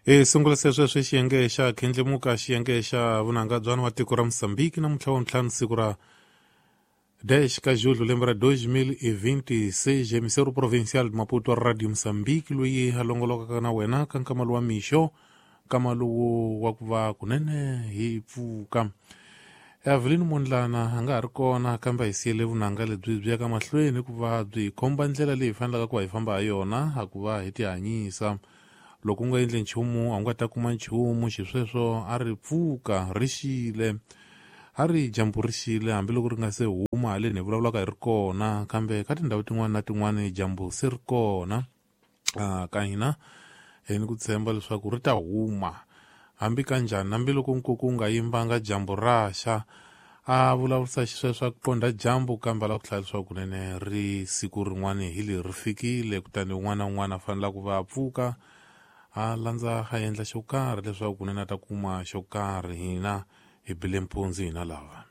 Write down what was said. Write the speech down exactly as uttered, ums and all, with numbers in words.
Hi sungula se sweswi xiyenge xa khendlemuka, xiyenge xa vunanga bya wa tiko ra Mozambique namuntlha wa ntlhanu, siku ra dez ka julho lembe ra dos mil e vinte e seis. Emissora provincial de Maputo, Radio Mozambique, loyi a longolokaka na wena ka nkama lowa mixo, nkama lowu wa ku va kunene hi pfuka. Evelyn Mondlana a nga ha ri kona, kambe hi siyele vunanga lebyi byi ya ka mahlweni hikuva byi khomba ndlela leyi hi fanelaka ku va hi famba ha yona a ku va hi tihanyisa. Loko u nga endli nchumu, a wu nga ta kuma nchumu. Xisweswo a ri pfuka ri xile, a ri dyambu ri xile, hambiloko ri nga se huma haleni hi vulavulaka hi ri kona, kambe ka tindhawu tin'wana na tin'wana dyambu se ri kona. Ka hina hi ni ku tshemba leswaku ri ta huma hambi kanjhani, hambiloko nkuku wu nga yimbanga dyambu ra xa. A vulavurisa xisweswo a ku qondha dyambu, kambe a lava ku hlaya leswaku kunene ri siku rin'wana hi leri ri fikile, kutani un'wana na un'wana a fanele ku va a pfuka a landza a endla xo karhi leswaku kunene a ta kuma xo karhi. Hina hi bile mpunzi hina lava.